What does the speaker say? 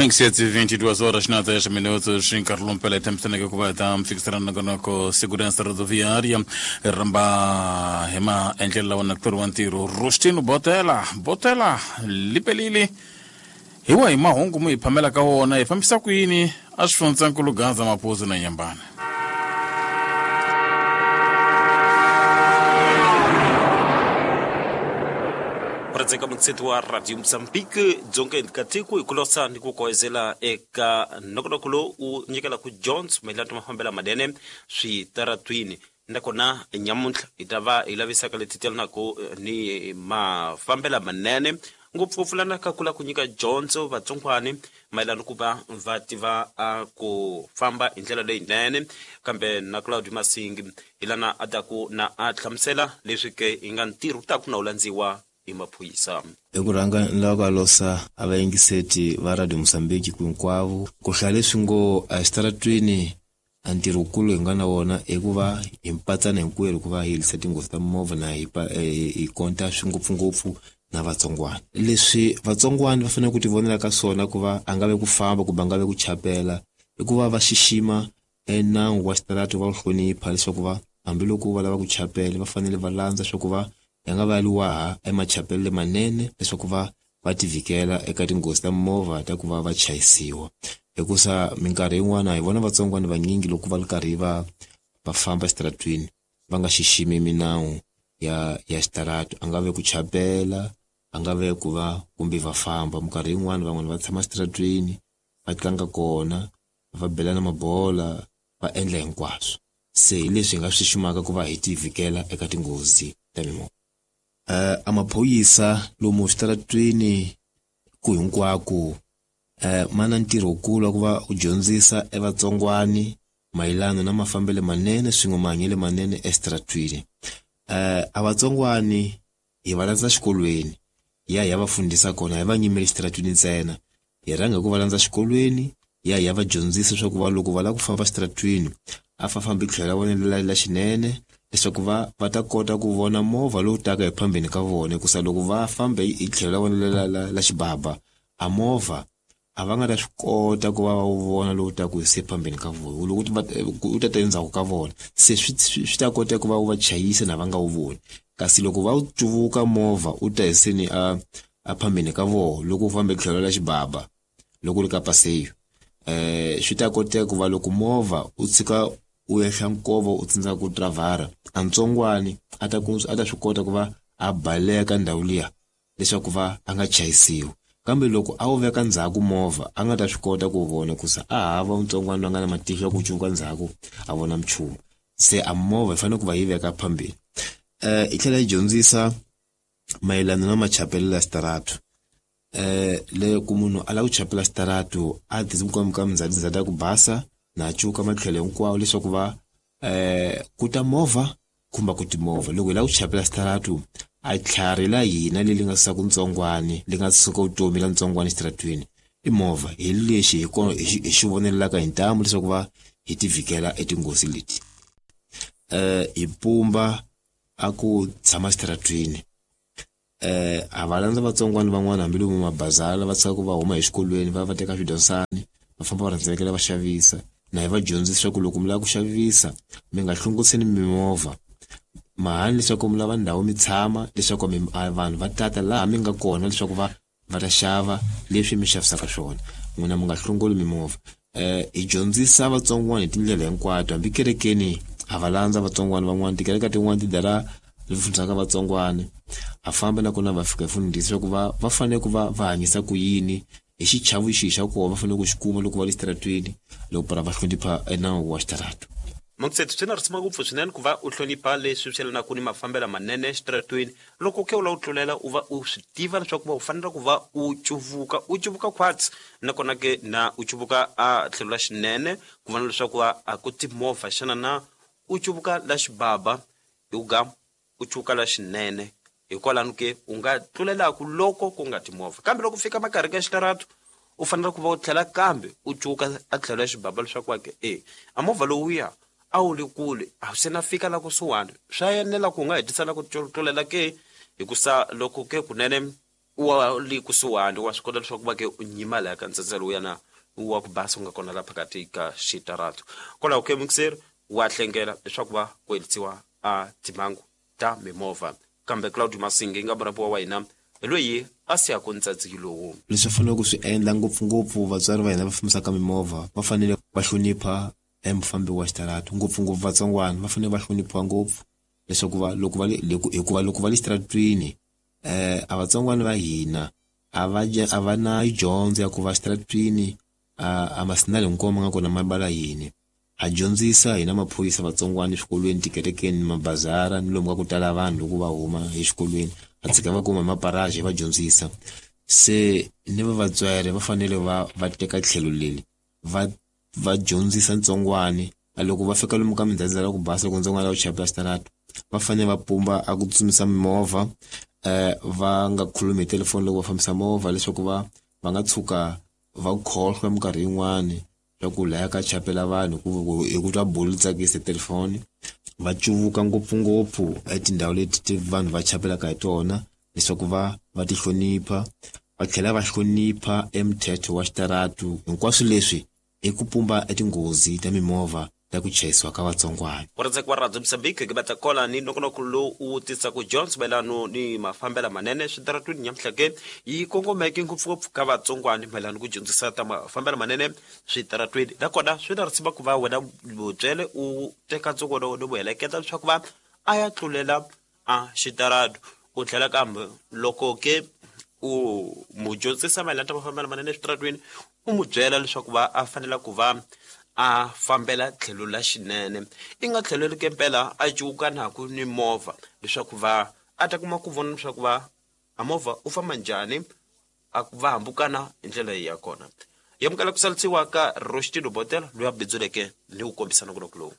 Mingisetse 22 horas na 10 minutos nkarhi lowu mpela hi tshamisaneke ku va hi ta mifikisela nongonoko segurança rodoviária hi rhamba hi maendlelo lawa na kutori wa ntirho Rustino Botela Botela lipelile hi wahi mahungu mu hi phamela ka wona hi fambisa ku yini a swi fundzankulu Gaza Mapuzu na Nyambana. Rhandzeka mutsheti wa Radio Mozambique dzongeni ka tiko hi ku losa ni ku koezela eka nongonoko lowu wu nyikelaka dyondzo mayelana na mafambelo manene switaratwini. Nakona nyamuntlha hi ta va hi lavisaka leti telanaka ni mafambelo manene ngopfungopfu lana ka ku lava ku nyika dyondzo vatsongwani mayelana ku va va tiva a ku famba hi ndlela leyinene. Kambe na Claudio Masingi hi lana a taku na a hlamusela leswi ke hi nga ntirho wu taku na wu landziwa hi maphorisa. Hi ku rhanga ni lava ku alosa a vayingiseti va Radio Mozambique ku hinkwavo ku hlaya leswi ngo exitaratweni a ntirho wukulu hi nga na wona i ku va hi mpatsana hinkwerhu ku va hi herisa tinghozi ta mimovha na hi hi konta swi ngopfungopfu na vatsongwana. Leswi vatsongwana va fanele ku ti vonela ka swona ku va a nga ve ku famba kumbe a nga ve ku chapela i ku va va xixima e nawu wa xitarata va wu hlonipha leswaku va hambiloko va lava ku chapela va fanele va landza swa ku va ya nga va liwaha emachapelo lamanene leswaku va va tivhikela eka tinghozi ta mimovha ta ku va va chayisiwa. Hikusa minkarhi yin'wana hi vona vatsongwana vanyingi loko va ri karhi va va famba exitaratwini va nga xiximi minawu ya ya xitarata a nga ve ku chapela a nga ve ku va kumbe va famba minkarhi yin'wani van'wani va tshama exitaratweni va tlanga kona va belana mabola va endla hinkwaswo se hi leswi hi nga swi xiximaka ku va hi tivhikela eka tinghozi ta mimovha. A maphorisa lomu switaratwini ku hinkwako ma na ntirho wukulu wa ku va u dyondzisa e vatsongwani mayelana na mafambelo manene swin'we mahanyelo manene exitaratwini. A vatsongwani hi va landza xikolweni hi ya hi ya va fundisa kona hi va nyimeli xitaratwini ntsena hi rhanga hi ku va landza xikolweni hi ya hi ya va dyondzisa leswaku va loko va lava ku famba xitaratwini a fa fambi tlhelo ra vona la la xinene leswaku va va ta kota ku vona movha lowu taka hi phambeni ka vona hikusa loko va fambe hi tlhelo ra vona la la la xibaba a movha a va nga ta swi kota ku va va wu vona lowu taka hi se phambeni ka vona loko u ta ta endzhaku ka vona se swi swi ta kota ku va wu va chayisa na va nga wu voni kasi loko va wu cuvuka movha u ta hi seni a a phambeni ka vona loko u famba hi tlhelo ra xibaba loko u ri ka paseyo swi ta koteka ku va loko movha u tshika u ehla nkova u tsandzeka ku tiravhara a ntsongwani a ta ku a ta swi kota ku va a baleka ndhawu liya leswaku va a nga chayisiwi kambe loko a wu veka ndzhaku movha a nga ta swi kota ku vona ku se a hava ntsongwana loyi a nga na matihlo ya ku cuvuka ndzhaku a vona nchumu se a movha yi fanele ku va yi veka phambili yi tlhela yi dyondzisa mayelana na machapelo ya xitaratu le ku munhu a lava ku chapela xitaratu a ti ka mindzhati ya ku basa na cuka matlhelo hinkwawo leswaku va ku ta movha kumbe ku timovha loko hi lava ku chapela xitaratu a tlhari la hina leri nga suka ntsongwani li nga suka vutomi la ntsongwani exitaratwini i movha hi lexi hi kona hi xi vonelaka hi ntamu leswaku va hi ti vhikela etinghozi leti hi pumba a ku tshama exitaratwini A va landza vatsongwana van'wana hambi lomu mabazala va tshika ku va huma exikolweni va va teka swidyondzani va famba va rhendzelekela va xavisa na hi va dyondzisa ku loko mi lava ku xavisa mi nga hlongorisi mimovha mahani leswaku mi lava ndhawu mi tshama leswaku mi vanhu va tata laha mi nga kona leswaku va va ta xava leswi mi xavisaka swona n'wina mi nga hlongoli mimovha hi dyondzisa vatsongwana hi tindlela hinkwato hambi kerekeni ha va landza vatsongwana van'wana tikereke tin'wana ti dala leti fundisaka vatsongwana ha famba nakona va fika hi fundisa leswaku va va fanele ku va va hanyisa ku yini hi xichavo xihi xa kona va fanele ku xi kuma loko va le xitaratwini loko para va hlonipha nawu wa xitarata. Mangutsethu swi na risima ngopfu swinene ku va u hlonipha leswi swi yelanaka ni mafambelo manene exitaratweni loko ke u lava u tlulela u va u swi tiva leswaku va u fanele ku va u cuvuka u cuvuka khwatsi nakona ke na u cuvuka a tlhelo la xinene ku vona leswaku a ku timovha xana na u cuvuka la xibaba hi ku ga u cuvuka la xinene hikwalano ke u nga tlulelaku loko ku nga timovha kambe loko fika makarhi ka xitaratu u fanele ku va u tlhela kambe u cuka a tlhelo ya xibaba leswaku wa ke e a movha lowuya a wu le kule a se na fika la kusuhani swa enela ku u nga hetisela ku tlulela ke hikusa loko ke kunene. Wa le kusuhani wa swi kota leswaku va ke u nyima laya ka ntsandza lowuyana wa ku basa u nga kona la phakati ka xitaratu. Kwalaho ke mukiseri wa hlengela leswaku va ku helisiwa a timhangu ta mimovha. Kambe Claudio Masingi nga murhambiwa wa hina hi loyi a siyaku ntsatsi lowu. Leswi va faneleke ku swi endla ngopfungopfu vatswari va hina va fambisaka mimovha va fanele va hlonipha e mufambi wa xitaratu, ngopfungopfu vatsongwana va fanele va hloniphiwa ngopfu leswaku va loko va le hikuva loko va le xitaratwini a vatsongwana va hina a va a va na dyondzo ya ku va xitaratwini a masinali hinkwawo ma nga kona ma bala yini. Ha dyondzisa hina maphorisa vatsongwana eswikolweni, tikerekeni, mabazara ni lomu ka ku tala vanhu loko va huma exikolweni ha tshika va kuma hi maparaji hi va dyondzisa. Se ni va vatswari va fanele va va teka tlhelo leri va va dyondzisa ntsongwani a loko va fika lomu ka mindzhadza la ku basa loko ntsongwana la ku chayela xitarata va fanele va pumba a ku tsutsumisa mimovha va nga khulumi hi telefoni loko va fambisa movha leswaku va va nga tshuka va khohlwa minkarhi yin'wani swa ku laya ka chapela vanhu hi ku twa bulu tsakisa telefoni. Va cuvuka ngopfungopfu etindhawu leti ti vanhu va chapelaka hi tona leswaku va va ti hlonipha va tlhela va hlonipha emuthetho wa xitaratu. Hinkwaswo leswi i ku pumba etinghozi ta mimovha ta ku chayisiwa ka vatsongwana. Ku wa Radio Mozambique ke batla kola ni nongonoko lowu u tisaka dyondzo mayelano ni mafambelo manene switaratwini nyamuhla ke yi kongomeke ngopfungopfu ka vatsongwani mayelano ku dyondzisa ta mafambelo manene switaratwini. Nakona swi na risima ku va wena mutswele u teka ntsongwana wa wena u heleketa leswaku va a ya tlulela a xitaratu. U tlhela kambe loko ke u mu dyondzisa mayelana ta mafambelo manene eswitaratwini u mu byela leswaku va a fanela ku va a fambela tlhelo la xinene, i nga tlhelo ke mpela a cuwukanaku ni movha leswaku va a ta kuma ku vona leswaku va a movha u famba njhani, a va hambukana hi ndlela ya kona. Yamukela ku salisiwa ka Rostino Botela loyi a bindzuleke ni ku kombisa nongonoko lowu.